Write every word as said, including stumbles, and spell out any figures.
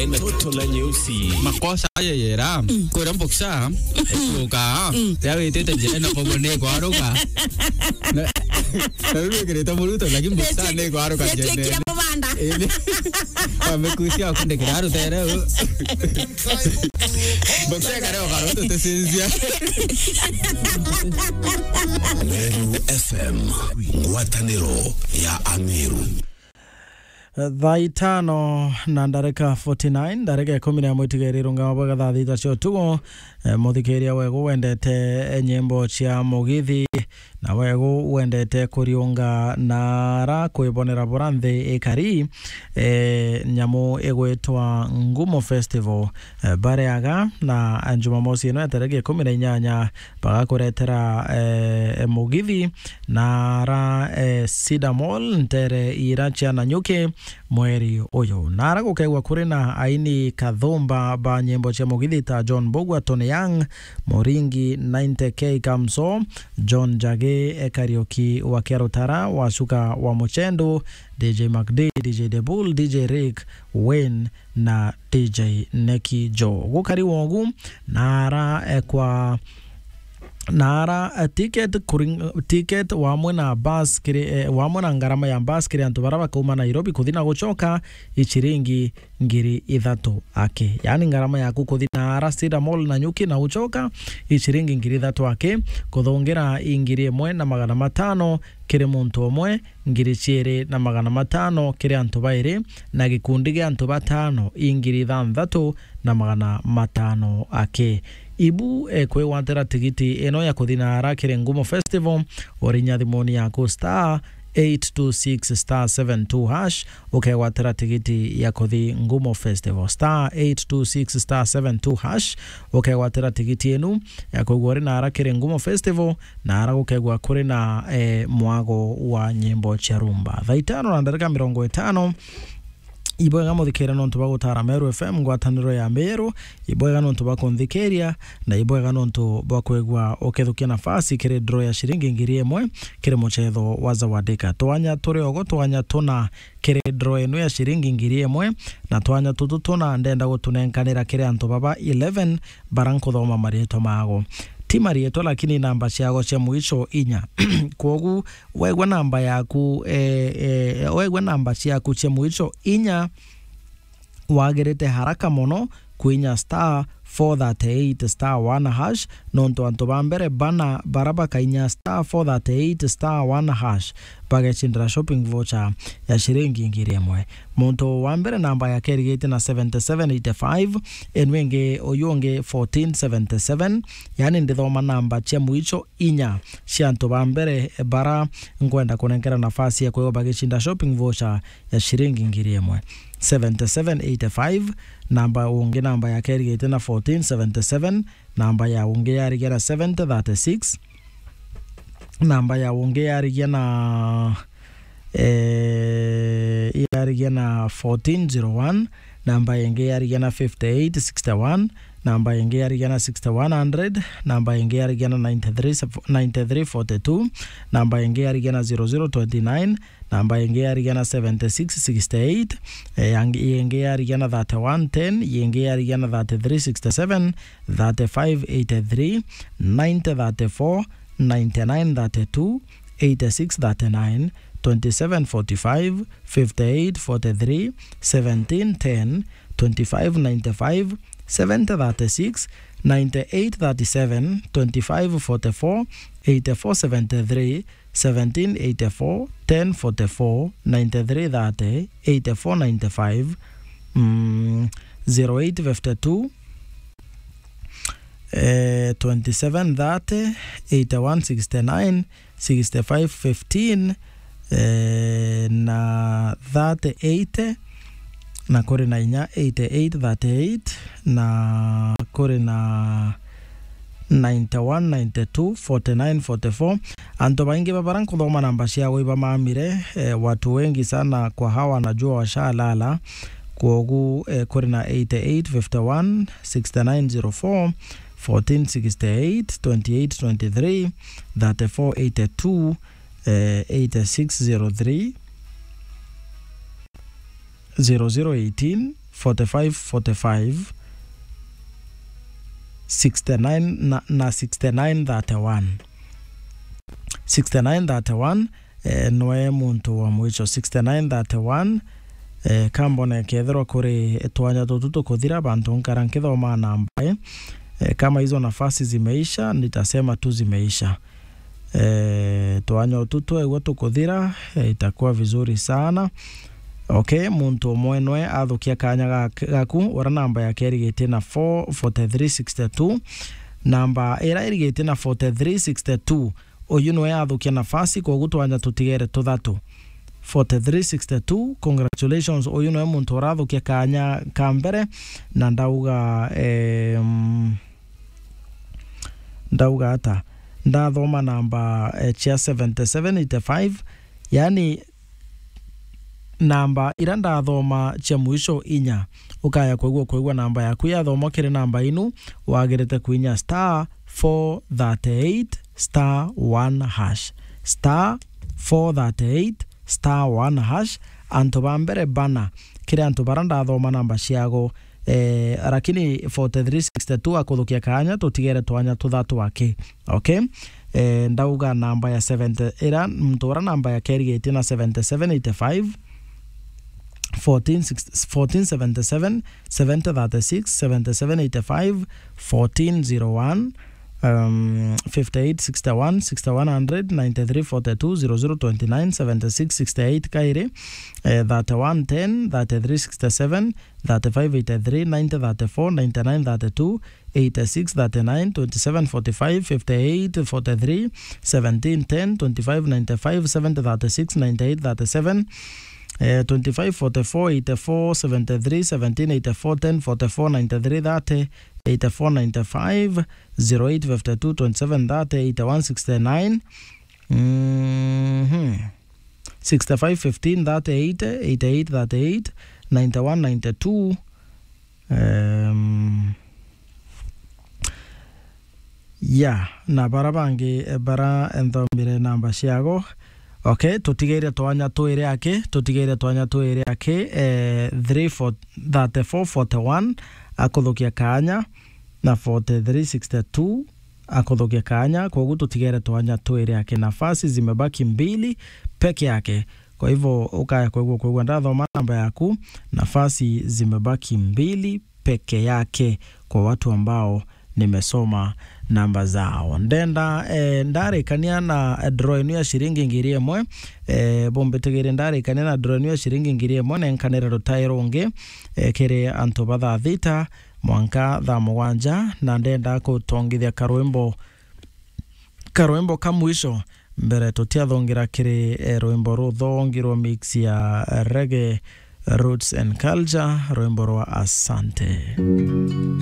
Toto la nyeusi. Makosa ayo yera. Mm. Kwira mboksa. Ekuka. Mm. Ya witite njira na kobo ni kwaruka. Na, na riu wikirite muruto, lakini mboksa ni kwaruka njira. Amekusia kundikira rutere. Mboksa kare okaruto tesinzia. Meru F M, ngwataniro ya Ameru. Thaa itano na ndareka forty nine, ndareka ikumi na imwe itigaire irungama bwega thaa thita cia utuku. Eh, muthikiria wegu wendete, eh, nyimbo cia mugithi, na wegu wendete kuriunga na ara kwibonera bura nthi ikari, eh, nyamu igwitwa Ngumo Festival, eh, bareaga na Jumamosi ino ya tariki ikumi na inyanya bagakuretera, eh, mugithi na ara, eh, Cedar Mall, ntere ira cia Nanyuki mweri uyu. Na ara gukegwa kuri na aini kathumba ba nyimbo cia mugithi ta John Mbugua, Tony Young, Muringi, ninety K Kamso, John Njagi, eh, Kariuki wa Kiarutara, Wacuka wa Muchendu, D J Mac D, D J The Bull, D J Rick, Wayne, na D J Neki Joe. Gukari wogu, na ara, eh, kwa, na ara, eh, ticket kuring-, ticket wamwe na bus kiri, eh, wamwe na ngarama ya bus kiri antu bara bakauma Nairobi kuthi na gucoka, i ciringi ngiri ithatu aki. Yaani ngarama yaku kuthi na ara Cedar Mall Nanyuki na ucoka, i ciringi ngiri ithatu aki, kuthungira i ngiri imwe na magana matano kiri muntu umwe, ngiri ciiri na magana matano kiri antu bairi, na gikundi gia antu batano i ngiri ithanthatu na magana matano aki. Ibu, eh, kwigwatira tigiti ino ya kuthi na ara kiri Ngumo Festival, urinya thimuni yaku star eight two six star seven two hash, ukegwatira tigiti ya kuthi Ngumo Festival, star eight two six star seven two hash, ukegwatira tigiti inu ya kwigua uri na ara kiri Ngumo Festival, na ara gukegwa kuri na, eh, mwago wa nyimbo cia rumba. Thaa itano na ndarika mirongo itano, ibwega muthikire nontu bwa gutara Meru F M, ngwataniro ya Meru, ibwega nontu bwa kunthikiria, na ibwega nontu bwa kwigua ukithukia nafasi kiri draw ya ciringi ngiri imwe kiri muchetho wa Zawadika. Twanya turi ogo, twanya tuna kiri draw inu ya ciringi ngiri imwe, na twanya tutu tuna ndenda gutunenkanira kiri antu baba eleven bara nkuthoma marietwa mago. Ti marietwa, lakini namba ciago cia mwicho inya. Kwogu, wegwa namba yaku, eh, eh, wegwa namba ciaku cia mwicho inya, wagirite haraka mono kwinya star four thirty-eight star one hash, nontu antu ba mbere bana bara bakainya star four thirty-eight star one hash, bagecindira shopping voucher ya ciringi ngiri imwe. Muntu wa mbere namba yake irigite na seventy-seven eighty-five, enu ingi uyu ungi fourteen seventy-seven, yani ndithoma namba cia mwicho inya cia antu ba mbere bara nkwenda kunenkera nafasi ya kwigua bagicinda shopping voucher ya ciringi ngiri imwe. Seventy-seven eighty-five, namba ungi namba yake irigite na fourteen seventy-seven, namba ya ungi yarigia na seventy thirty-six, namba ya ungi yarigia na, eh, yarigia na fourteen zero one, namba ingi yarigia na fifty-eight sixty-one, namba ingi yarigia na sixty-one hundred, namba ingi yarigia na ninety-three, ninety-three forty-two, namba ingi yarigia na zero zero twenty-nine, namba ingi yarigia na seventy-six sixty-eight, eh, yangi, ingi yarigia na thirty-one ten, ingi yarigia na thirty-three sixty-seven, thirty-five eighty-three, ninety thirty-four, ninety-nine thirty-two, eighty-six thirty-nine, twenty-seven forty-five, fifty-eight forty-three, seventeen ten, twenty-five ninety-five, seventy thirty-six, ninety-eight thirty-seven, twenty-five forty-four, eighty-four seventy-three, seventeen eighty-four, ten forty-four, ninety-three thirty, eighty-four ninety-five, mm, zero eight fifty-two, eh, twenty-seven thirty, eighty-one sixty-nine, sixty-five fifteen, eh, na thirty eighty, na kuri na inya eighty-eight thirty-eight, na kuri na ninety-one ninety-two forty-nine forty-four. Antu baingi ba bara nkuthoma namba ciao ibamamire, eh, watu wengi sana kwa hawa wanajua washalala. Kwogu, eh, kuri na eighty-eight fifty-one sixty-nine zero four, fourteen sixty-eight, twenty-eight twenty-three, thirty-four eighty-two, eh, eighty-six zero three, zero zero eighteen, forty-five forty-five, sixty-nine na, na sixty-nine thirty-one. Sixty-nine thirty-one, eh, nwe muntu wa mwisho. Sixty-nine thirty-one, eh, kambone kethirwa kuri twanya tutu tukuthira, bantu nkara nkithoma namba, eh, eh, kama hizo nafasi zimeisha, nitasema tu zimeisha. Eh, twanya utu twegua tukuthira, eh, itakuwa vizuri sana. Okay, muntu umwe nwe athukia kanya ga-, gaku, ura namba yake irigitie na four forty-three sixty-two. Namba ira irigitie na forty-three sixty-two, uyu nwe athukia nafasi, kogu twanya tutigere tuthatu. Forty-three sixty-two, congratulations, uyu nwe muntu urathukia kanya ka mbere, na ndauga, em, ndauga ata? Ndathoma namba, eh, cia seventy-seven eighty-five, yani namba ira ndathoma cia mwisho inya, ukaya kwigua, kwigua namba yaku yathomwa kiri namba inu, wagirite kuinya star four thirty-eight star one hash. Star four thirty-eight star one hash. Antu ba mbere bana, kiri antu bara ndathoma namba ciago, eh, lakini forty-three sixty-two akuthukia kanya, tutigere twanya tuthatu aki. Okay? Eh, ndauga namba ya seventy, ira muntu ura namba yake irigitie na seventy-seven eighty-five, fourteen sixty, fourteen seventy-seven, seventy thirty-six, seventy-seven eighty-five, fourteen zero one, um, fifty-eight sixty-one, sixty-one hundred, ninety-three forty-two, zero zero twenty-nine, seventy-six sixty-eight kairi, eh, thirty-one ten, thirty-three sixty-seven, thirty-five eighty-three, ninety thirty-four, ninety-nine thirty-two, eighty-six thirty-nine, twenty-seven forty-five, fifty-eight forty-three, seventeen ten, twenty-five ninety-five, seventy thirty-six, ninety-eight thirty-seven, eh, twenty-five forty-four, eighty-four seventy-three, seventeen eighty-four, ten forty-four, ninety-three thirty, eighty-four ninety-five, zero eight fifty-two, twenty-seven thirty, eighty-one sixty-nine. Mhm. Sixty-five fifteen thirty eighty, eighty-eight thirty-eight, ninety-one ninety-two. Em, ya, na bara bangi, eh, bara nthomire namba ciago. Okay, tutigeire twanya twiri aki, tutigeire twanya twiri aki, eh, three four, thirty-four forty-one, akuthukia kanya, na forty-three sixty-two, akuthukia kanya, koguo tutigere twanya twiri aki. Nafasi zimebaki mbili peke yake. Kwa hivyo, ukaya kwigua, kwigua ndathoma namba yaku, nafasi zimebaki mbili peke yake kwa watu ambao nimesoma namba zao. Ndenda, eh, ndarikania na draw inu ya ciringi ngiri imwe, eh, bumbitigire ndarikania na draw inu ya ciringi ngiri imwe, nenkanire rutai rungi, eh, kiri antu ba thaa thita mwanka thaa mugwanja, na ndenda gutongithia karwimbo, karwimbo ka mwisho mbere tutiathongira kiri, eh, rwimbo ruthongirwe mix ya reggae, roots and culture, rwimbo rwa Asante.